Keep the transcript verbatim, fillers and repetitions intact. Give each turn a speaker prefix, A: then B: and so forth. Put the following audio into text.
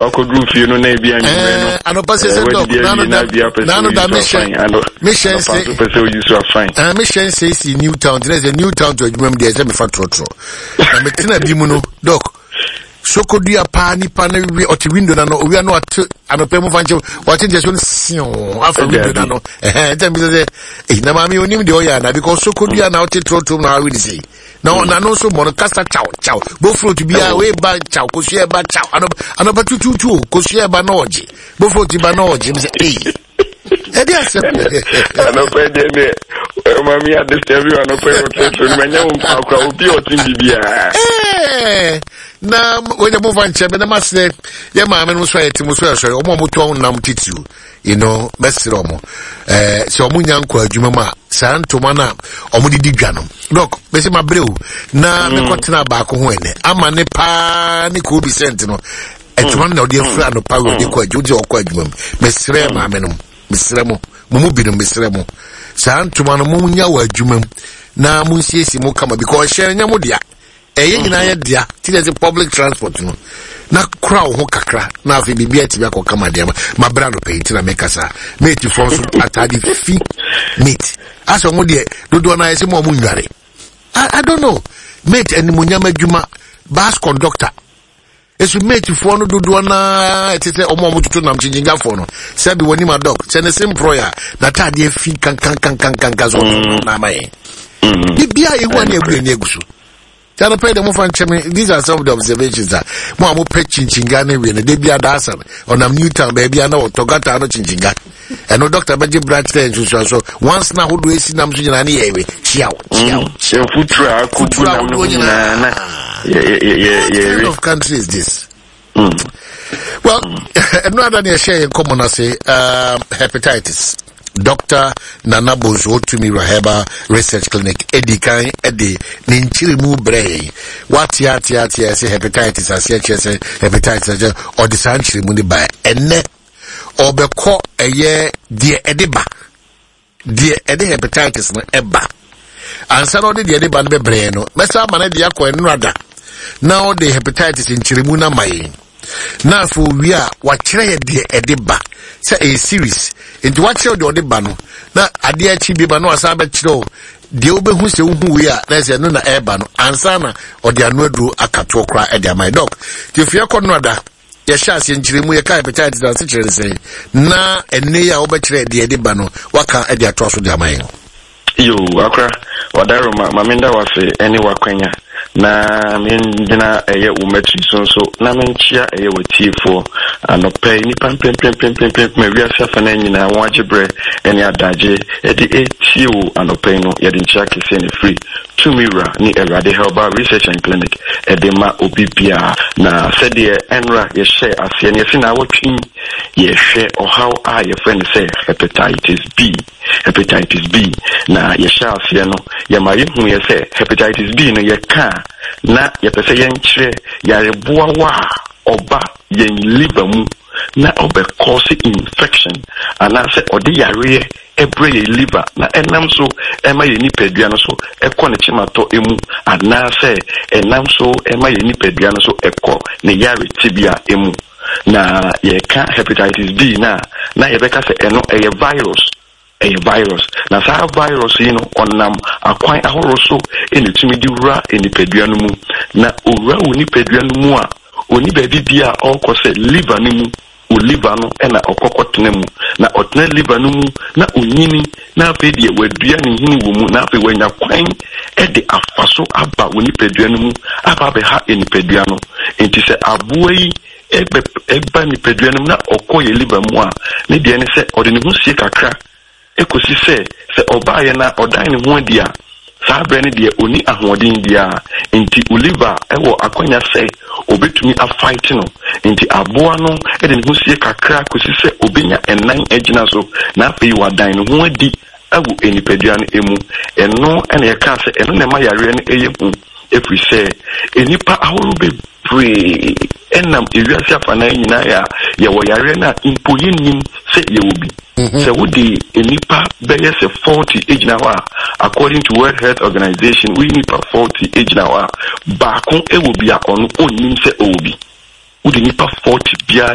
A: Wakɔduru fie no na ebi anwummerɛ no,
B: anɔpa sɛ sɛ dɔk nano da mehyɛ mehyɛ
A: nse pɛ sɛ oyi so afan.
B: Mehyɛ nse si New Town tena sɛ New Town to adwuma mu deɛ, sɛ mefa trɔtrɔ na metena bi mu no, dɔk, sokodua paa, nipa no wi ɔte window na no owia no ate anɔpa mu fa nkyɛn ɔte nkyɛn so no siw afa window na no ɛhɛn ɛntɛn bi sɛ sɛ eyi na maame onim deɛ ɔyɛ ana, because sokodua na ɔte trɔtrɔ mu na awi ne sɛ na ɔnano nso mmɔ no kasa kyaw kyaw, bofrot biara wei ba kyaw, kosua ba kyaw, anɔpa tututu o, kosua ba na ɔgye, bofrot ba na ɔgye mi sɛ eyi ɛdi asɛm.
A: Anɔpa deɛ deɛ maame adesua bi anɔpa yi ɔtɛtɛ no manya wo nkwa akora obi a ɔte biribiara.
B: Na wɔnyɛ mo fa nkyɛn bɛ na ma srɛ yɛ maame no nso a yɛte mo so ɛsɔre ɔmo a ɔmo tɔn nam titiriw you know mɛsrɛ ɔmo ɛɛ sɛ ɔmo nya nkɔ adwuma mu a, saa ntoma no a ɔmo de di dwa no, dɔk, bɛsɛ ma brɛ o na mm. mekɔtena baako ho ɛnɛ ama ne paa ne koobi sɛnt no, ntoma no na ɔde afura anɔpa wei ɔde kɔ adwuma, ɔde ɔkɔ adwuma mu. Mesrɛ maame no, mesrɛ mo, mo mu binom, mesrɛ mo, saa ntoma no mo nya wɔ adwuma mu na mo nsiesie mo kama, because ɛhyɛn nyɛ mo dea, ɛyɛ nyinaa yɛ dea. Ti na ɛsɛ public transport no na kora wo ho kakra na afei biribi atumi akɔ kama deɛ ma bra no pɛyi. Nti na meka saa matefoɔ nso atade fi mate asɛ ɔmo deɛ dodoɔ no ayɛ sɛ mo a ɔmo nnware. I, I don't know, mate animonyam adwuma, bus conductor esu, matefoɔ no dodoɔ naa ɛte sɛ ɔmo a ɔmo toto nam kyinkyinkyafoɔ no, sɛbi wɔn anim adɔk sɛ ne se mporɔ a n'ataadeɛ fi kankankankankankan so ɔmo na ama yɛn biribiara ehu ani egu ani egu so. Tiano pɛ de mo fa nkyɛn mi, these are some of the observations a mo a mo pɛ kyinkyiga ne wie no de bi adaasa ɔnam New Town baabi a na ɔtɔ gata no kyinkyiga ɛno, doctor bɛgye bra kyerɛ nsusuaso once na ahodoɔ esi nam so nyinaa ne yɛ ewe kyiaw kyiaw.
A: Futuro a akogu nam no nyinaa na yɛ yɛ yɛ
B: yɛ. What kind of country is this? Mm. Well, ɛno ada ne ɛhyɛ yɛn nkɔmmɔ no ase, um, hepatitis. Doctor Nana Bonsu Otumi Raheba Research Clinic edi kan de ne nkyerɛmu brɛ yɛn. Wate ate ate ɛsɛ hepatitis aseɛ kyerɛ sɛ hepatitis akyerɛ ɔde saa nkyerɛmu no ba. Ɛnɛ ɔbɛkɔ ɛyɛ deɛ ɛde ba, deɛ ɛde hepatitis no ɛba. Ansa na ɔde deɛ ɛde ba no bɛbrɛ no, mɛsa ama no de akɔ ɛnora na ɔde hepatitis nkyerɛmu no ama yɛn, na afei owie a wakyerɛ yɛ deɛ ɛde ba sɛ ɛyɛ series. Nti wakyerɛ deɛ ɔde ba no na adeɛ akyi bi ba na wasan bɛkyerɛ o deɛ wobɛhu sɛ wohu wei a na ɛsɛ ɛno na ɛreba no, ansa na ɔde ano aduro akatoɔ koraa ɛde ama yɛ. Dɔk, nti efie kɔ no ada yɛhyɛ aseɛ nkyerɛmu, yɛka hepatitis ase kyerɛ ne sɛn, na ɛnɛ yi a wobɛkyerɛ deɛ ɛde ba no waka ɛde atoa so de ama yɛn.
A: Yo, akora wadaro ma ma menda wase ɛne wakwanya na mengyina ɛyɛ wo matiri so nso na menkyia ɛyɛ watiefoɔ anɔpɛ yi, nnipa mpempempempempem a wiase afa no nyinaa wɔn agye berɛ ɛne adagye ɛde ɛtie wo anɔpɛ yi no. Yɛde nkyia kɛseɛ ne firi Tumi Wura ne Awurade Herbal Research and Clinic ɛde ma obi biara. Na sɛdeɛ ɛnra yɛhyɛ aseɛ no, yɛsi na awɔtwe yɛhwɛ ɔhaw a yɛfrɛ no sɛ hepatitis B. Hepatitis B na yɛhyɛ aseɛ no, yɛma yɛhu yɛ sɛ hepatitis B no, yɛka a na yɛpɛ sɛ yɛnkyerɛ yareboawa a ɔba yɛn liver mu na ɔbɛkɔɔse infection anaasɛ ɔde yareɛ ɛbrɛ yɛn liver na ɛnam so ɛma yɛn nipadua no so ɛkɔ ne kyematɔ emu anaasɛ ɛnam so ɛma yɛn nipadua no so ɛkɔ ne yare tebea emu. Na yɛka hepatitis B na na yɛbɛka sɛ ɛno ɛyɛ virus, ɛyɛ virus, na saa virus yi no ɔnam akwan ahorow so ɛna etumi de wura nipadua no mu. Na owura wɔ nipadua no mu a, oni baabi bia a ɔrekɔ sɛ liver no mu. O liver no ɛna ɔkɔkɔ tena mu, na ɔtena liver no mu na onyini, na afei deɛ wadua ne nhini wɔ mu, na afei wanya kwan ɛde afa so aba wɔ nipadua no mu aba abɛha nipadua no. Nti sɛ aboa yi ɛbɛ ɛba nipadua no mu na ɔkɔ yɛ liver mu a, ne deɛ ne sɛ ɔde ne ho sie kakra ekosi sɛ sɛ ɔbaayɛ na ɔdan ne ho adi a, saa berɛ no deɛ ɔni ahoɔden biara, nti o liver ɛwɔ akwanya sɛ obetumi afight no. Nti aboa no de ne ho sie kakra kɔsi sɛ obenya ɛnan agyina so na afei wadan ne ho adi ɛwɔ nipadua no emu. Ɛno ɛna yɛkaa sɛ ɛno na ɛma yareɛ no ɛyɛ hu, ɛfiri sɛ nnipa ahorow bebree ɛnam ewiase afanan nyinaa a yɛwɔ yareɛ no a mpo yɛnnim sɛ yɛwɔ bi. Sɛ wode nnipa bɛyɛ sɛ forty gyina hɔ a, according to World Health Organization, woyi nnipa forty gyina hɔ a, baako wɔ bi a ɔno ɔnnim sɛ ɔwɔ bi. Wode nipa forty biara